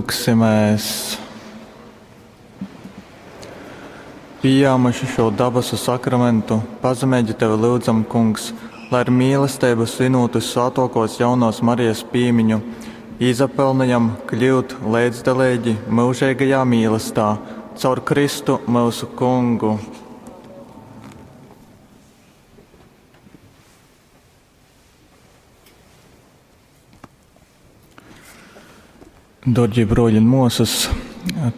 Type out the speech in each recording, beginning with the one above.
Lyugsimēs! Pījāmuši šo dabasu sakramentu, pazemeigi Tevi lyudzam, Kungs, lai ar mīlesteibu svinūt vyssvātōkōs jaunōs Marijas pīmiņu, izapelnejam kļyut leidzdaleigi myužeigajā mīlestā caur Kristu myusu Kungu. Dārgie broļi un muosas,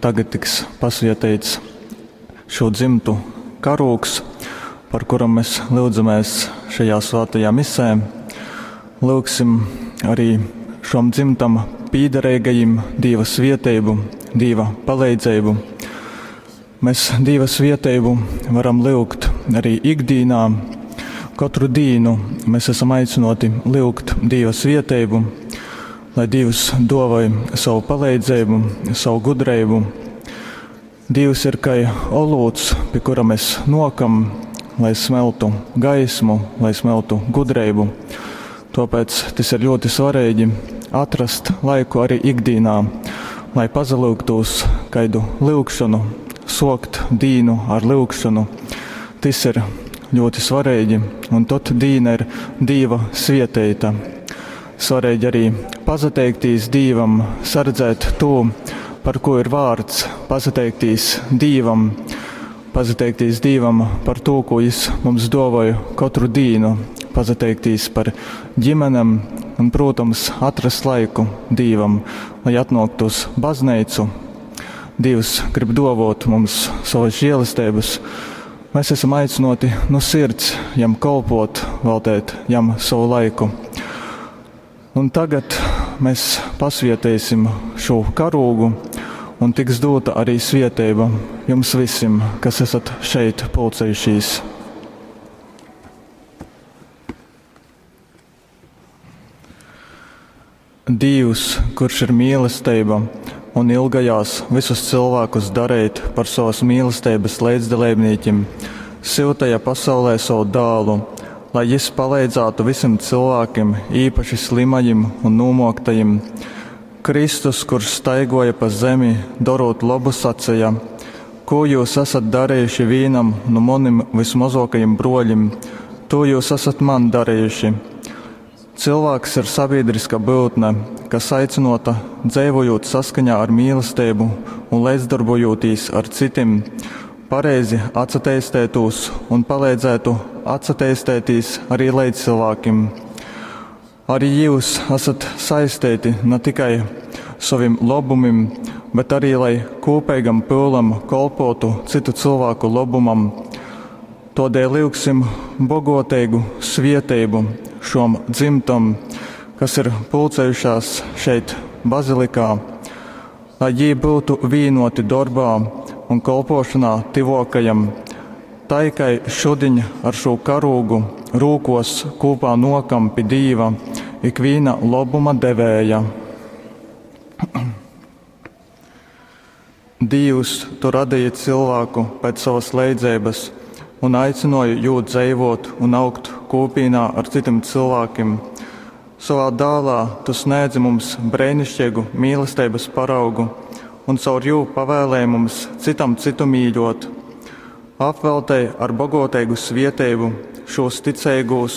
tagad tiks pasvieteits šo dzimtu karūgs, par kuram mēs lyudzamies šajā svētajā misē. Lūgsim arī šom dzimtam pīdarīgajiem Dieva svieteibu, Dieva palīdzību. Mēs Dieva svieteibu varam lyugt arī ikdīnā. Katru dīnu mēs esam aicināti lyugt Dieva svieteibu, lai Dievs dovai savu palīdzību, savu gudrību. Dievs ir kā olūts, pie kura mēs nokam, lai smeltu gaismu, lai smeltu gudrību. Tāpēc tas ir ļoti svarīgi atrast laiku arī ikdienā, lai pazalūgtos kaidu lūgšanu, sokt dīnu ar lūgšanu. Tas ir ļoti svarīgi, un tad dīna ir Dieva svieteita. Svarīgi arī pazateikties Dievam, sardzēt to, par ko ir vārds, pazateikties Dievam, pazateikties Dievam par to, ko Viņš mums dāvāja katru dienu, pazateikties par ģimenēm un, protams, atrast laiku Dievam, lai atnāktu uz baznīcu. Dievs grib dāvāt mums savas žēlastības. Mēs esam aicināti no sirds jam kalpot, veltīt jam savu laiku. Un tagad mēs pasvietēsim šo karūgu, un tiks dota arī svieteiba jums visiem, kas esat šeit pulcējušies. Dievs, kurš ir mīlestība un ilgajās visus cilvēkus darīt par savas mīlestības līdzdalībniekiem, siltajā pasaulē savu dālu, lai jis palīdzētu visiem cilvēkiem, īpaši slimajiem un nomoktajiem. Kristus, kurš staigoja pa zemi, darot labu, sacīja: Ko jūs esat darījuši vienam no maniem vismazākajiem broļiem, to jūs esat man darījuši. Cilvēks ir sabiedriska būtne, kas aicinota dzīvojot saskaņā ar mīlestību un līdzdarbojoties ar citiem, pareizi atsateistētos un palīdzētu atsateistēties arī līdzcilvēkiem. Arī jūs esat saistīti ne tikai saviem labumiem, bet arī lai kopīgam pūlam kolpotu citu cilvēku labumam. Todēļ lūgsim bogotīgu svieteibu šom dzimtam, kas ir pulcējušās šeit bazilikā, lai jī būtu vienoti darbā un kolpošanā tivokajam, tai kai šudiņ ar šo karūgu rūkos kopā nokam pi Dīva ikvīna labuma devēja. Dievs, tu radīji cilvēku pēc savas leidzības un aicināji jū dzīvot un augt kopīnā ar citiem cilvēkiem. Savā dālā tu sniedzi mums brēnišķīgu mīlestības paraugu un caur jū pavēlēji mums citam citu mīļot. Apveltēji ar bogotīgu svieteibu šos ticīgos,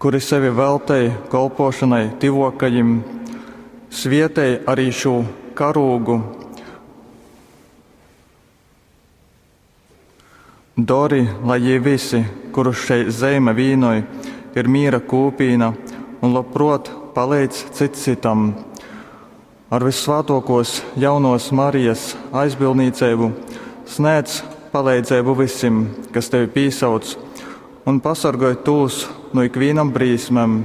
kuri sevi veltēja kolpošanai tivokajim, svietēja arī šo karūgu. Dori, lai jī visi, kurus šeit zeime vīnoj, ir miera kūpīna un labprot palīdz cits citam. Ar vissvētākos jaunos Marijas aizbildniecību sniedz palīdzību visiem, kas tevi pīsauc, un pasargoj tūs no ikvienam brīsmēm,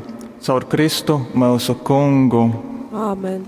caur Kristu mūsu kungu. Āmen.